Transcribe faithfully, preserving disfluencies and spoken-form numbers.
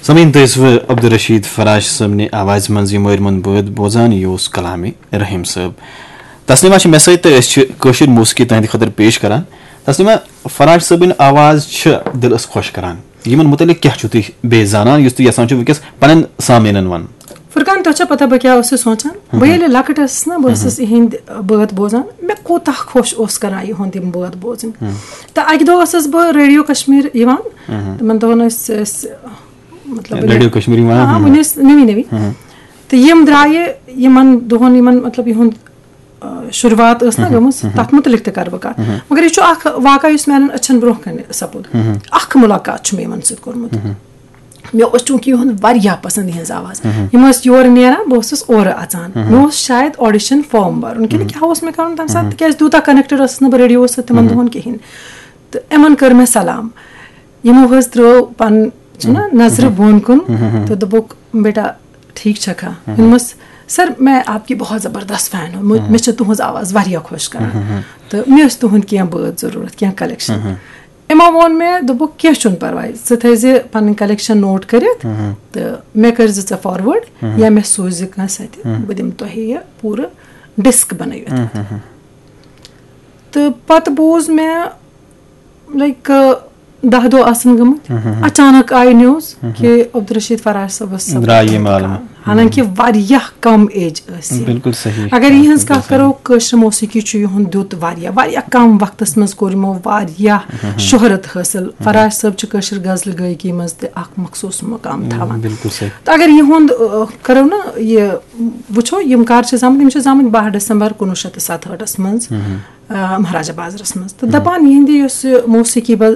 سامعین، تُہۍ ٲسوٕ عبدالرشید فراش صٲبنہِ آوازِ منٛز یہِ مٲرۍ منٛد بٲتھ بوزان، یہِ اوس کلامِ رحیم صٲب۔ تسلیمہ چھِ مےٚ سۭتۍ تہٕ أسۍ چھِ کٲشِر موسیقی تُہنٛدِ خٲطرٕ پیش کران۔ تسلیمہ، فراش صٲبٕنۍ آواز چھِ دِلس خۄش کران۔ یِمن متعلق کیٛاہ چھِو تُہۍ بیٚیہِ زانان، یُس تُہۍ یژھان چھِو وٕنکیٚس پننٮ۪ن سامعیٖنن ونُن؟ فرقان، تۄہہِ چھا پتہ بہٕ کیٛاہ ٲسٕس سونٛچان؟ بہٕ ییٚلہِ لۄکٕٹ ٲسٕس نا، بہٕ ٲسٕس یِہِنٛدۍ بٲتھ بوزان، مےٚ کوٗتاہ خۄش اوس کران یِہُنٛد یِم بٲتھ بوزٕنۍ۔ تہٕ اکہِ دۄہ ٲسٕس بہٕ ریڈیو کشمیر یِوان، تِمن دۄہن ٲسۍ أسۍ، مطلب، ریڈیو کشمیر یِوان، آ، وٕنہِ ٲسۍ نٔوی نٔوی۔ تہٕ یِم درٛایہِ یِمن دۄہن، یِمن، مطلب، یِہُنٛد، آ، شروٗعات ٲس نا گٔمٕژ، تتھ مُتعلق تہِ کرٕ بہٕ کتھ۔ مگر یہِ چھُ اکھ واقعہ یُس میانٮ۪ن أچھن برونٛہہ کنہِ سپُد۔ اکھ مُلاقات چھُ مےٚ یِمن سۭتۍ کوٚرمُت۔ مےٚ اوس چوٗنٛکہِ یِہُنٛد واریاہ پسنٛد، یِہٕنٛز آواز۔ یِم ٲسۍ یورٕ نیران، بہٕ ٲسٕس اورٕ اژان۔ مےٚ اوس شاید audition form بھرُن کِنہٕ کیٛاہ اوس مےٚ کرُن تمہِ ساتہٕ، تِکیٛازِ تیوٗتاہ connected ٲسٕس نہٕ بہٕ ریڈیووَس سۭتۍ تِمن دۄہن کِہینۍ۔ تہٕ یِمن کٔر مےٚ سلام۔ یِمو حظ ترٲو پن، چھُنہ، نظرِ بۄن کُن تہٕ دوٚپُکھ، "بیٹا، ٹھیٖک چھکھا؟" مےٚ دوٚپمَس، "سر، میں آپ کی بہت زبردست فین ہوں، مجھ-، مےٚ چھِ تُہٕنٛز آواز واریاہ خۄش کران۔ تہٕ مےٚ ٲسۍ تُہُنٛد کینٛہہ بٲتھ ضروٗرت، کینٛہہ collection۔" یِمو ووٚن مےٚ، دوٚپُکھ، "کینٛہہ چھُنہٕ پرواے، ژٕ تھٲیزِ پنٕنۍ collection note کٔرِتھ تہٕ مےٚ کٔرزِ ژٕ forward یا مےٚ سوٗزِ کٲنٛسہِ اَتھِ، بہٕ دِمہٕ تۄہہِ یہِ پوٗرٕ disc بنٲوِتھ۔" تہٕ پتہٕ بوٗز مےٚ، لایک، دَہ دۄہ آسن گٔمٕتۍ، اچانک آیہِ news کہِ عبدالرشید فراش صٲبس سپُد انتقال۔ حالانکہ واریاہ کم age ٲس یہِ۔ بالکل صحیح۔ اگر یِہنٛز کتھ کرو، کٲشر موسیقی چھُ یِہُنٛد دیُت واریاہ، واریاہ کم وقتس منٛز کوٚر یِمو واریاہ شہرت حٲصِل۔ فراش صٲب چھِ کٲشر غزل گٲیکی منٛز تہِ اکھ مخصوٗص مقام تھاوان۔ بالکل صحیح۔ تہٕ اگر یِہُنٛد، آ، کرو نا یہِ وٕچھو، یِم کر چھِ زامٕتۍ؟ یِم چھِ زامٕتۍ باہ ڈسمبر کُنوُہ شیٚتھ تہٕ ستہٲٹھس منٛز، آ، مہاراجا بازرس منٛز۔ تہٕ دپان، یِہنٛدِ یۄس یہِ موسیقی بل